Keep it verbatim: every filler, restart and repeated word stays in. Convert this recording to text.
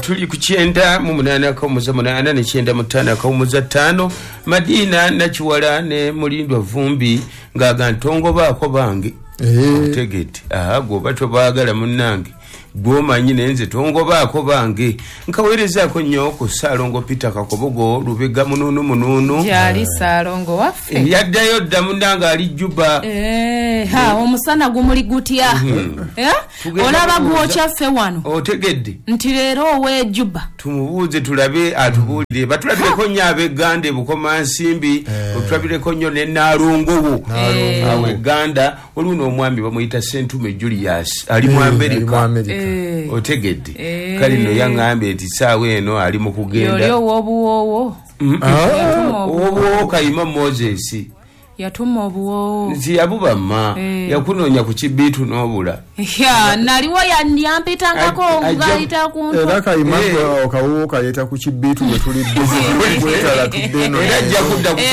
Tuli ku kyenda mu munaana akawumuza munaana ne kyenda mu ttaano akawumuza ttaano. Madina Nakiwala ne Mulindwa Vumbi ng'aga ntongobaako bange. Otegedde? Aha, gwoba tobaagala munnange, gwomanyi, naye nze tongobaako bange. Nkaweerezaako nnyo ku Ssaalongo Peter Kakobogo Lubega Munuunu Munuunu. Gyali Saalongo waffe. Yaddayo dda munnange, ali Juba. Eh, ha, omusana gumuli gutya? Eh? Tugenda olaba kubuuza. Gwokya ffe wano. Otegedde? Nti leero ow'ejuba. Tumubuuze tulabe atubuulire. Batulabireko nnyo ab'egganda eBukomansimbi, otulabireko nnyo ne Naalongowo awo egganda. Waliwo n'omwami bamuyita Sentume Julius, ali mu Amerika. Eh. Otegedde? Eh. Kale nno yaŋŋambye nti saawa eno ali mu Yoli kugenda. Ow'obuwoowo yatuma obuwoowo. Obuwoowo Kayima Moses. Yatuma obuwoowo. Nti yabubamma. Eh. Yakunoonya ku kibiitu n'obula. Ya, naliwo ya- yampitangako Ajja- ngayita ku Era ntwe. Kayima Eh. akawuwo kaleeta ku kibiitu bwe tuli busy kwetala tudde eno. Era ajja kudda ku